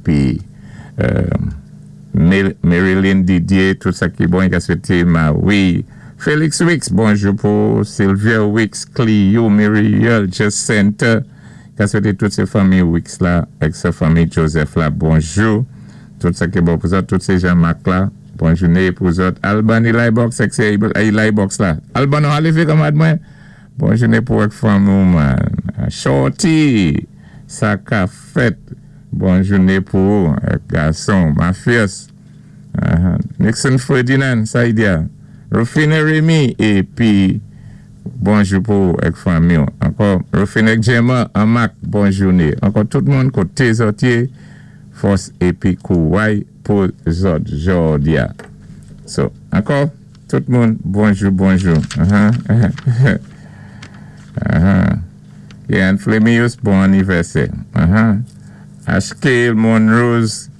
Épi Marilyn Didier, tout sa ki bon, i ka swété Marie. Félix Wicks, bonjou pou Sylvia Wicks, Clio, Muriel, Jacinta, ka swété tout sé fanmi Wicks la, ak sé fanmi Joseph la, bonjou. Tout sa ki bon pou zòt, tout sé Jean-Marc la, bon jouné pou zòt. Alban Eli Box, ak sé Eli Box la. Alban, nou alévé kanmad mwen. Bon jouné pou ak fanmi man. Shorty, sa ka fèt. Bon jouné pou ak gason, Mafias. Nixon Ferdinand, sa y di. Rufine Remy, épi bonjou pou ak fanmi. Ankò, Rufine Gemma, Amak, bon jouné. Ankò tout moun koté zòt yé, fòs épi kouway pou zòt jòdi-a. So, ankò, tout moun, bonjou, bonjou. Yann Flemius, bon anivèsè. Ashkale Monrose.